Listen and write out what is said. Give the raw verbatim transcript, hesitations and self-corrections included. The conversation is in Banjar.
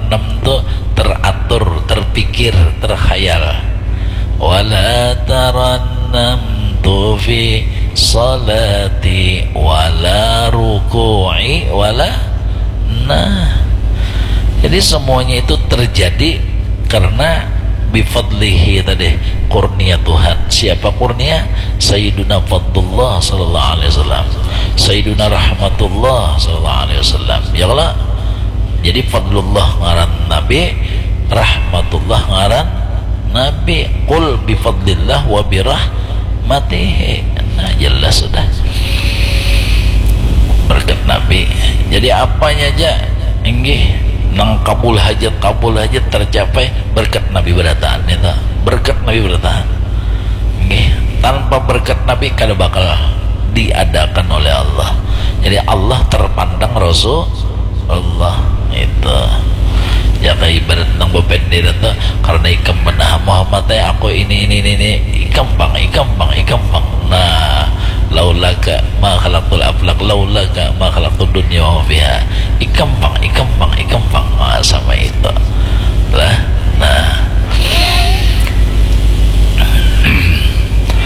Enam tu teratur, terpikir, terkhayal. Wala tarannamtu fi salati wala ruku'i wala, nah. Jadi semuanya itu terjadi karena bifadlihi tadi, kurnia Tuhan. Siapa kurnia? Sayyiduna Fadlullah sallallahu alaihi wasallam, Sayyiduna Rahmatullah sallallahu alaihi wasallam. Ya kalau jadi Fadlullah ngaran Nabi, Rahmatullah ngaran Nabi. Qul bifadlillah wa birahmatihi. Nah, jelas sudah. Berkat Nabi. Jadi apanya aja, inggih, nang kabul hajat, kabul hajat tercapai berkat Nabi berataan itu. Berkat Nabi berataan. Inggih, tanpa berkat Nabi kada bakal diadakan oleh Allah. Jadi Allah terpandang Rasul Allah itu. Jaka ibarat nang bapender itu, karena ikam benar Muhammad, eh, aku ini, ini, ini, ini. Ikam pang, ikam pang, ikam pang. Nah, laulaka ma khalaqtul aflak, laulaka ma khalaqtud dunya wa ma fiha. Ikam pang, ikam pang, ikam pang. Nah, sama itu.